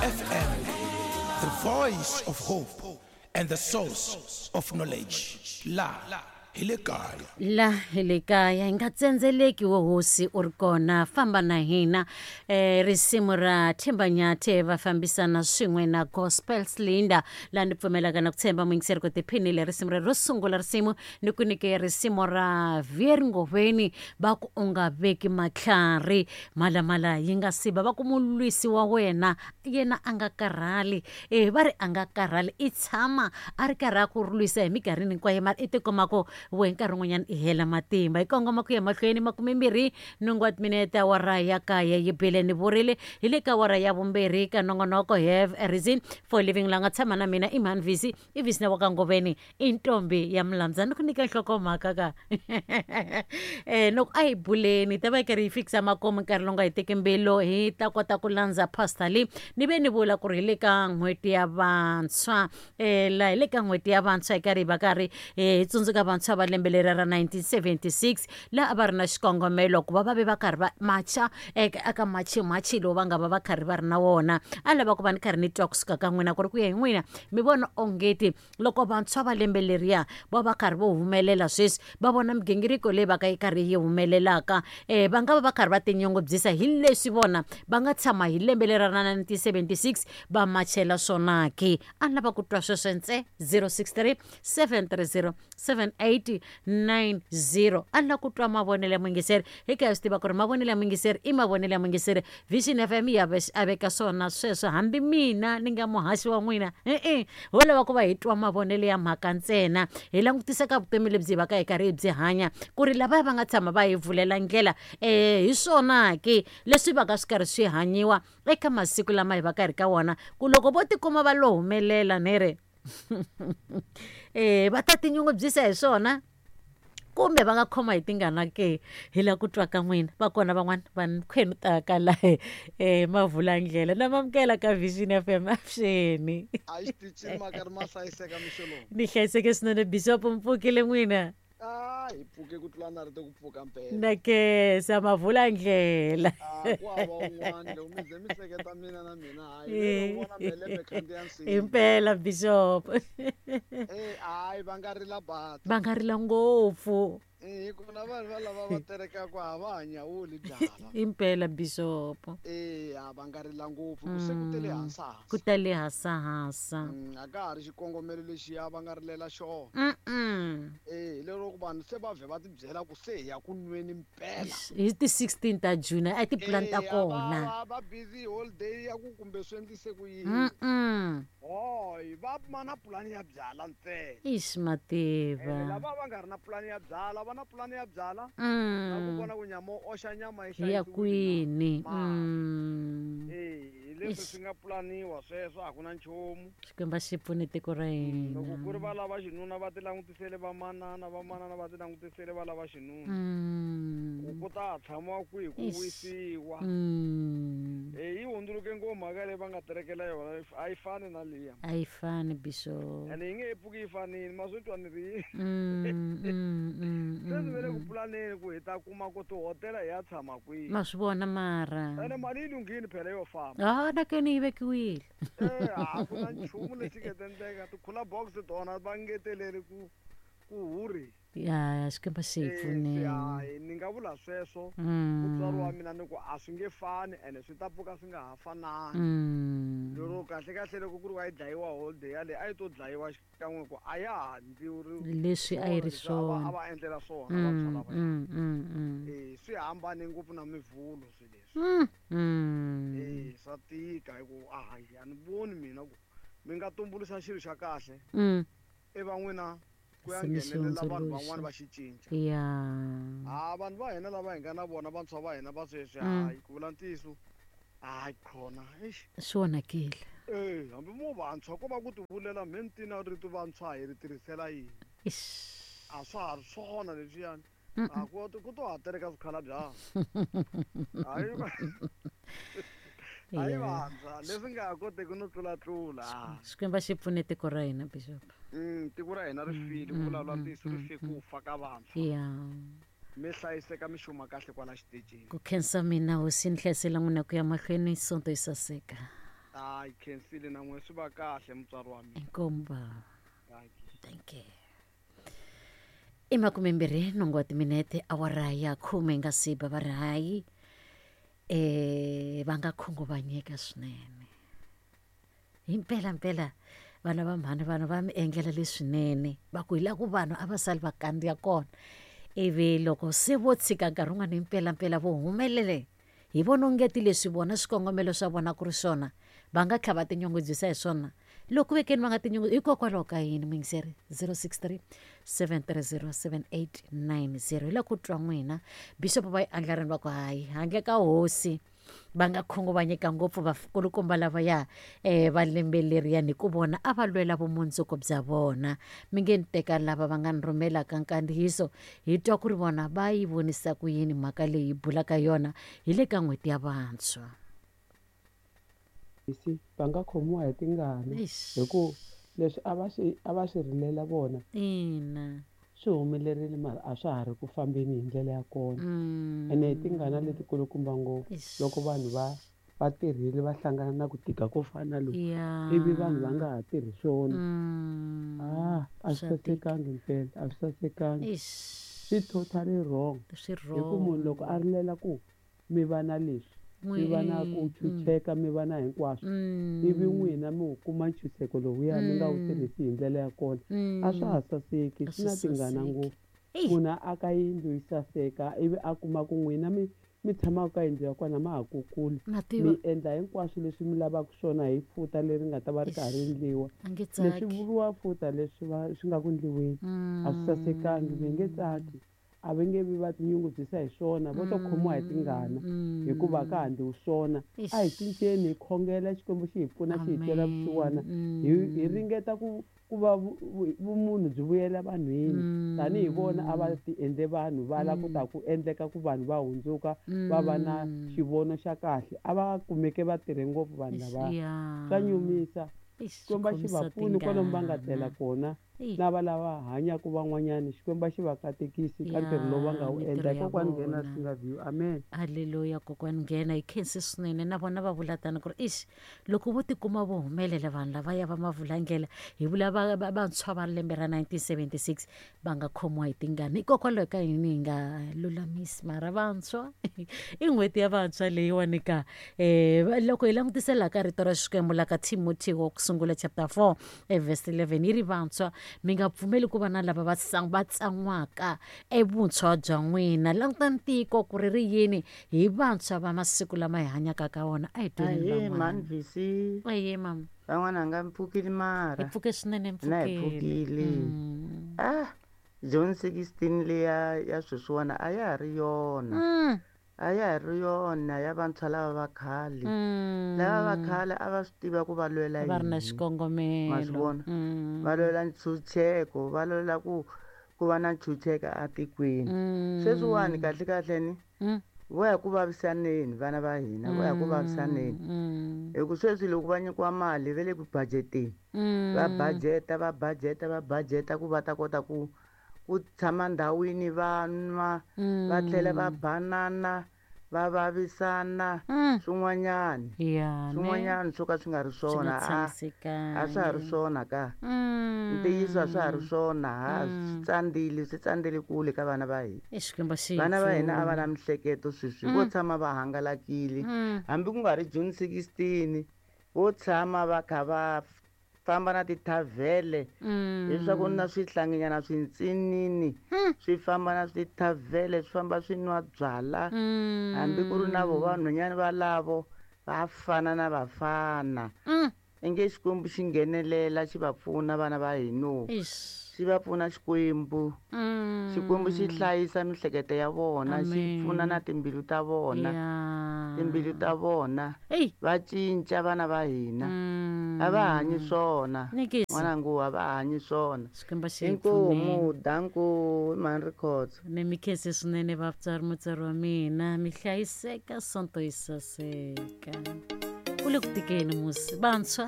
FM, the voice of hope and the source of knowledge. La hi le kaya. La hi le kaya hi nga tsendzeleki wo hosi u ri kona famba na hina eh, risimu ra Themba Nyathe va fambisana swin'we na Gospel Slinda laha ni pfumelaka na ku tshemba muyingiseri ku tiphinile risimu rero ro sungula risimu ni ku nyike risimu ra Vier Ngoveni va ku u nga veki matlhari mhalamhala yi nga siva va ku mulwisi wa wena yena a nga karhali e va ri a nga karhali i tshama a ri karhi a ku lwisa hi minkarhini hinkwayo mara i tikuma ku we nkarhi wun'wanyana i hela matimba hi kongoma ku ya mahlweni makumembirhi nhungu wa timinete awara ya kaye yi bile ni vurile hi le ka awara ya vumbirhi ka nongonoko have a reason for living la nga tshama na mina i mhani visi i visi na wa ka ngoveni i ntombi ya mulandza ni ku nyika nhlokomhaka ka loko a hi buleni ta va yi karhi yi fikisa makumu nkarhi lowu nga hi teki mbilu hi ta kota ku landza pastor lee ni ve ni vula ku ri hi le ka n'hweti ya vantshwa um laha hi le ka n'hweti ya vantshwa hi karhi hi va karhi hi tsundzuka vantshwa va lembe leri ra 1976 laha a va ri na xikongomelo ku va va ve va karhi va macha eka machimachi lowu va nga va va karhi va ri na wona a lava ku va ni karhi ni twa kusuka ka n'wina ku ri ku ya hi n'wina mi vona ongeti loko vantshwa va lembe leriya va va karhi vo humelela sweswi va vona migingiriko leyi va ka yi karhi yi humelelaka um va nga va va karhi va tinyungubyisa hi leswi vona va nga tshama hi lembe leri ra 1976 va machela swona ke a ni lava ku twa sweswo ntse 063 730 7890 a ni lava ku twa mavonelo ya muyingiseri hi ka hi swi tiva ku ri mavonelo ya muyingiseri i mavonelo ya muyingiseri vision fm ya a veka swona sweswo hambi mina ni nga muhaxi wa n'wina e-e ho lava ku va hi twa mavonelo ya mhaka ntsena hi langutisa ka vutomi lebyi hi va ka hi karhi hi byi hanya ku ri lavaya va nga tshama va hi vulela ndlela um hi swona ke leswi va ka swi karhi swi hanyiwa eka masiku lama hi va ka hi ri ka wona ku loko vo tikuma va lo humelela ni ri eh va ta tinyungubyisa hi swona kumbe va nga khoma hi tingana ke hi la ku twa ka n'wina va kona van'wana va khwenu taka la eh mavulandlela na mamukela ka Vision FM avuxeni a xitichini makari ma hlayiseka mixo lowu ni hlayiseke swinene bishop mpfukile n'wina a hi pfuke ku tlula na rito ku pfuka mpela na kesa mavulandlela a ku hava un'wana loko mi ze mi hleketa mina na mina hayi vele u vona melembe khandziya nsinya himpela bishop Eh, hayi va nga rila bata va nga rila ngopfu Eh, ku na vanhu va lava va terekaka a va ha nyawuli byala impela bishop Eh, a va nga rila ngopfu ku se ku tele hasahasa ku tele hasahasa A ka ha ri xikongomelo lexiya va nga rilela xona Mm-mm. Eh, hi lero ku vanhu se va vhe va tibyela ku se hi ya ku nweni mpela hi ti 16 ta june a ti pulani ta Eh, a kona va va busy holiday ya ku kumbe swi endlise ku yini Mm-mm. hoy va ma na pulani ya byala ntsena ix Ene mativa lava va nga ri na pulani ya byala va na pulani ya byala na ku vona ku nyama wo oxa nyama yi hi ya hlayisiwile na kwini mara Mm. Eh, hi leswi Ix swi nga pulaniwa sweswo a ku na nchumu xikwembu a xi pfune tiko ra Loko ku ri hina va lava xinuna va ti langutisele vamanana vamanana va ti langutisele va lava xinuna ku ku ta tshamiwa kwihi ku Ix wisiwa E yi hundzuluke ngopfu mhaka leyi va nga terekela yona a yi fani na liya a yi fani bishop ene yi nge he pfuki yi fanile ma swi twa ni ri yini Mm, mm, mm, se ni ve le mm, ku mm. pulaneni ku hi ta kuma ku tihotela hi ya tshama kwihi ma swi vona mara ene mali yi lunghile phela yo famba a na keni yi vekiwile e a ku na nchumu lexi nga ta endleka ti-cooler box tona va ngeteleli ku ku hurhi ya xikwembu xi hi Eh, se pfuneni hayi ni nga vula sweswo mutswari wa mina ni ku a swi nge fani ene swi ta pfuka swi nga ha fanani lero kahle kahle loko ku ri wa yi dlayiwa holiday yaleyi a yi to dlayiwa xikan'we ku a ya ha ndliwi ri leswi a yi swona ri leswi a va a swona va endlela swona vantshwa Mm, lavaya mm, mm, mm. e swi hambane ngopfu na mivhulo swi leswi Mm, mm. e swa tika hi ku hayi a ni voni mina ku mi nga tumbuluxa xilo xa kahle i va n'wina ku ya Se mi xi nghenelela vanhu van'wana hundzuluxa va xi cinca ya ha vanhu va hina lava hi nga na vona vantshwa va hina va sweswi hayi ku vula ntiyiso hayi khona eish swi onhakile e hambi mo vantshwa ko va ku tivulela me ni tina rito vantshwa hi ri tirhisela yini Ix. a swa ha ri swona leswiyani Mm-mm. a ku ku to ha tereka swikhalabya hayi hayi ya vantshwa leswi nga ha koteki no tlulatlula xikwembu a xi pfune tiko ra hina bishop Tiko ra hina ri file ku mm, vulavula mm, ntiyiso ri mm, fe mm. ku fa ka vantshwa ya mi hlayiseka mi xuma kahle kwala xitejini ku khensa mina hosi ni hlayisela n'wina ku ya mahlweni sonto yi saseka Hayi khensile na n'we swi va kahle mutswari wa mina. Inkomu bava. Thank you. I 28 wa timinete awara ya khume nga si ba va ri hayi va nga khunguvanyeka swinene. Himpela mpela vana va mhani vanhu va mi endlela leswinene va ku hi la ku vanhu a va sali va kandziya kona ivi loko se vo tshika nkarhi wun'wana himpela mpela vo humelele hi vona ongeti leswi vona swikongomelo swa vona ku ri swona va nga tlha va tinyungubyisa hi swona loko vekeni va nga tinyungu hikokwalaho ka yini muyingiseri 063 730 7890 hi la ku twa n'wina bishop va yi andlarini va ku hayi handle ka hosi va nga khunguvanyeka ngopfu vakulukumba lavaya um va lembe leriyani hi ku vona a va lwela vumundzuku bya vona mi nge ni teka lava va nga ni rhumelaka nkandziyiso hi twa ku ri vona va yi vonisa ku yini mhaka leyi hi bulaka yona hi le ka n'hweti ya vantshwa. Si va nga khomiwa hi tingana hi ku leswi a va swi a va swi rilela vona ina swi humelerile mara a swa ha ri ku fambeni hi ndlela ya kona ene hi tingana letikulukumba ngopfu loko vanhu va va tirhile va hlangana na ku tika ko fana na loku ivi vanhu va nga ha tirhi swona a a swi sasekangi mpela a swi sasekangi swi totally wrong hi ku munhu loko a rilela ku mi va na leswi mi va na ku chucheka mi va na hinkwaswo ivi n'wina mi wu kuma ntshunxeko lowuya mi nga wu tirhisi hi ndlela ya kona a swa ha saseki swi na tingana ngopfu munhu a aka yindlu yi saseka ivi a kuma ku n'wina mi mi tshamaka ka yindlu ya kona ma ha kukula mi endla hinkwaswo leswi mi lavaka swona hi futa leri nga ta va ri karhi ri endliwa leswi vuriwa futa leswi va swi nga ku ndliweni a swi sasekangi mi nge tsaki a va nge vi va tinyungubyisa hi swona vo to khomiwa hi tingana hikuva a ka ha ndliwi swona a hi cinceni hi khongela xikwembu xi hi pfuna xi hi twela vusiwana hi hi ringeta ku ku va vumunhu byi vuyela vanhwini tanihi vona a va ti endle vanhu va lava ku ta ku endleka ku vanhu va hundzuka va va na xivono xa kahle a va kumeke va tirhe ngopfu vanhu lava swa nyumisa xikwembu a xi va pfuni kwalomu va nga tlela kona na va lava hanyaka van'wanyana xikwembu a xi va katekisi ka ntirho lowu va nga wu endla kokwani nghena swi nga view amen halleluya kokwani nghena hi khensi swinene na vona va vula tani ku ri ixi loko vo tikuma vo humelela vanhu lavaya va mavulandlela hi vula vantshwa va lembe ra 1976 va nga khomiwa hi tingana hikokwalaho ka yini hi nga lulamisi mara vantshwa i n'hweti ya vantshwa leyiwani ka um loko hi langutisela ka rito ra xikwembu la ka timothy wa ku sungula chapter 4 evhesi 11 yi ri vantshwa mi nga pfumeli ku va na lava va va tsan'waka evuntshwa bya n'wina langutani tiko ku ri ri yini hi vantshwa va masiku lama hi hanyaka ka wona a hi tweni Ahee, mhani VC. Ahee, mama. Van'wana nga mi pfukile mara. Hi pfuke swinene Na hi pfukile. Ah, June 16 leya ya sweswiwani a ya ha ri yona. A ya ha ri yona ya vantshwa lava va khale. Lava va khale a va swi tiva ku va lwela Va ri na yini. xikongomelo. Ma swi vona? Va lwela ntshunxeko, va lwela ku ku va na ntshunxeko atikweni. Sweswiwani kahle kahle ni vo ya ku vavisaneni vana va hina vo ya ku vavisaneni hi ku sweswi loko va nyikiwa mali va le ku budgeteni va budgeta va budgeta va budgeta ku va ta kota ku ku tshama ndhawini va nwa va tlhela va banana va vavisana swin'wanyana swin'wanyana swo ka swi nga ri swona a swa ha ri swona ka ntiyiso a swa ha ri swona ha swi tsandzile swi tsandzile kule ka vana va hina vana va hina a va na mihleketo sweswi vo tshama va hangalakile hambi ku nga ri June 16 vo tshama va kha va famba na tithavhele leswaku na swihlanginyana swintsinini swi famba na swithavhele swi famba swi nwa byala hambi ku ri na vo vanhwanyana valavo va fana na vafana inge xikwembu xi nghenelela xi va pfuna vana va hino xi va pfuna xikwembu xikwembu xi hlayisa mihleketo ya vona xi pfuna na timbilu ta vona timbilu ta vona va cinca vana va hina a va hanyi swona n'wanangu a va hanyi swona inkomu danku mhani rikhotso ni mi khensi swinene vatswari mutswari wa mina mi hlayiseka sonto yi saseka ku le ku tikeni musi vantshwa.